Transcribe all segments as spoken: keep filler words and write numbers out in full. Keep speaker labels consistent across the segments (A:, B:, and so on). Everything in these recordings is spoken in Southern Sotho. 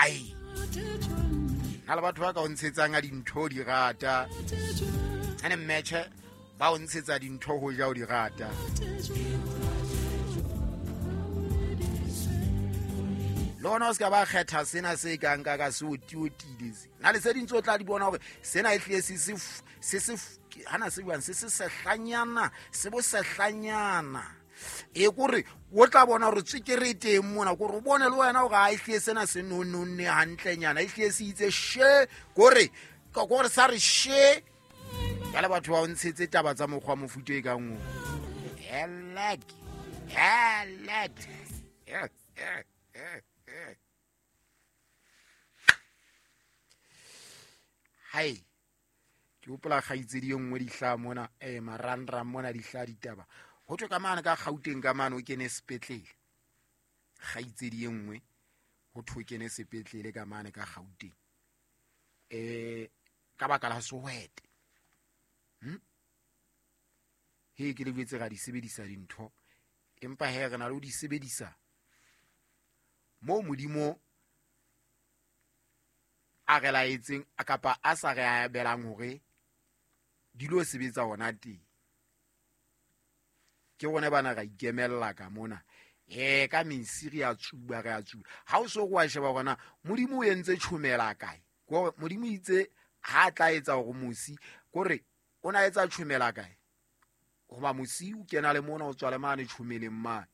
A: Ai na le batho ba ka o ntshetsang a dintho di rata ene mmetjhe ba o ntshetsa dintho ho ja o di rata. Lona o ska ba kgetha sena se kang ka ka se o tiotile se na le se dintse o tla di bona hore sena e hlile se se se se hana se buang se se sehlanyana se bo sehlanyana e kore o tla bona hore tswekere e teng mona kore o bone le wena hore ha e hlile sena se nononne hantlenyana e hlile se itse she kore kore sa re she jale batho ba o ntshetse taba tsa mokgwa mofuta e kang o helek helek. Hai ke hopola kgaitsedi e nngwe dihlaha mona eh marangrang mona dihlaha ditaba ho thwe ka mane ka Gauteng ka mane o kene sepetlele kgaitsedi e nngwe ho thwe o kene sepetlele ka mane ka Gauteng eh ka baka la sehwete. Hm he ke le jwetse ra di sebedisa dintho empa he re na le ho di sebedisa moo Modimo a re laetseng kapa a sa re abelang hore di lo sebetsa hona teng. Ke rona bana ra ikemella ka mona eh ka mesi re a tsuba re a tsuba ha o so go a sheba hore na Modimo o entse tjhomela kae kore Modimo itse ha tla etsa hore mosi kore o na etsa tjhomela kae hoba mosi o kena le mona o tswa le mane tjhomeleng mane.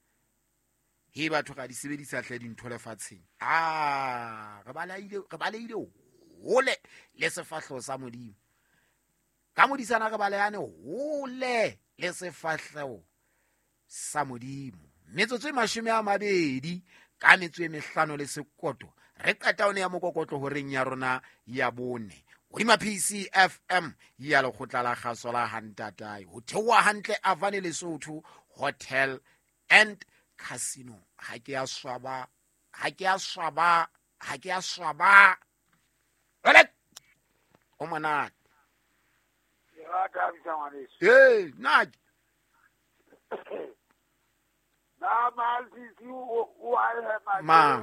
A: He batho ga di sebedisa hle dintho lefatsheng ah re baleile re baleile hole le sefahleho sa Modimo ka modisana re balehane hole le sefahleho sa Modimo. Metsotso e mashome a mabedi ka metso e mehlano le sekoto re qeta one ya mokokotlo horeng ya rona ya bone hodima P C F M ya lekgotla la kgaso la Hantatae ho theoha hantle Avane Lesotho Hotel and Casino. Ha ke a swaba ha ke a swaba ha ke a swaba ole o monate
B: ya thabisa ngwaneso
A: eh na
B: na malsisi o a hema
A: mang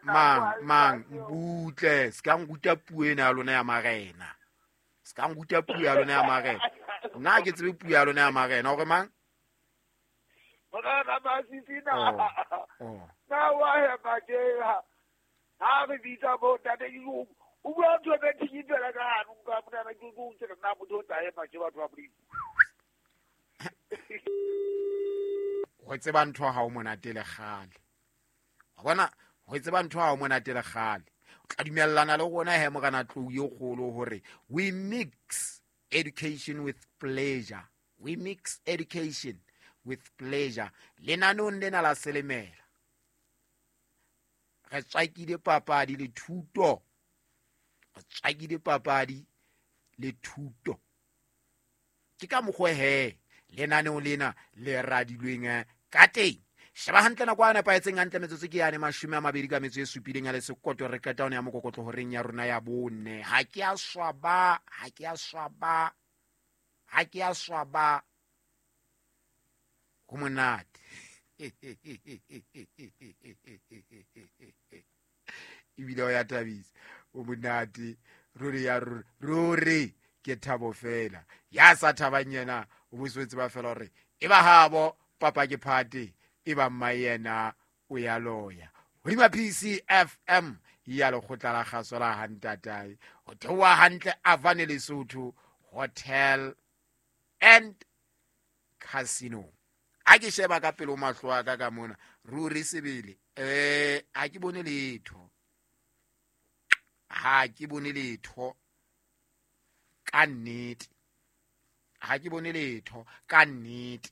A: mang mang butle se ka nkuta puo ena ya lona ya marena se ka nkuta puo ya lona ya marena nna ke tsebe puo ya lona ya marena hore mang
B: Morena Masisi na na wa hema ke ha ha re bitsa bo ntate ke o bua ntho e thikipela ka hanong ka mona ke go ntse nna motho o tla hema ke batho ba Modimo.
A: Ho tseba ntho ha o monate le kgale wa bona ho tseba ntho ha o monate le kgale o tla dumellana le rona he morena tlou e kgolo hore we mix education with pleasure we mix education with pleasure lenaneong lena la selemela re tswakile papadi le thuto re tswakile papadi le thuto ke ka mokgwa he lenaneong lena le radilweng ka teng. Sheba hantle nako a nepahetseng hantle metsotso ke yane mashome a mabedi ka metso e supileng ya le sekoto re qeta one ya mokokotlo horeng ya rona ya bone. Ha ke a swaba ha ke a swaba ha ke a swaba ho monate ebile o ya thabisa o monate ruri ya ruri ke thabo fela ya sa thabang yena o boswetse ba fela hore e ba habo papa ke phate e ba mma yena o ya loya hodima P C F M ya lekgotla la kgaso la Hantatae ho theoha hantle Avane Lesotho Hotel and Casino. Ha ke sheba ka pele o mahlo a ka ka mona ruri sebele eh ha ke bone letho ha ke bone letho ka nnete ha ke bone letho ka nnete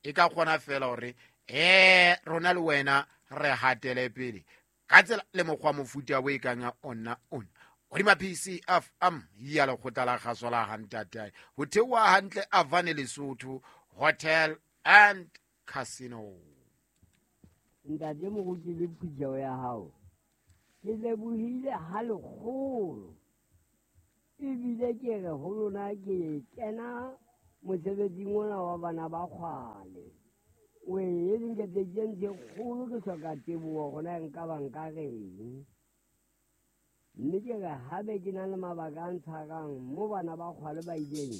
A: e ka kgona fela hore eh rona le wena re hatele pele ka tsela le mokgwa mofuta o e kang ona ona hodima P C F M ya lekgotla la kgaso la Hantatae ho theoha hantle Avane Lesotho Hotel and Casino.
C: Ntate moruti le phutheho ya hao ke lebohile ha lekgolo ebile ke re ho lona ke kena mosebetsing ona wa bana ba kgwale. O e nketseditse ntho e kgolo, ke hloka teboho hore na nka ba nka reng. Mme ke re haebe ke na le mabaka a ntshwarang mo bana ba kgwale ba ileng,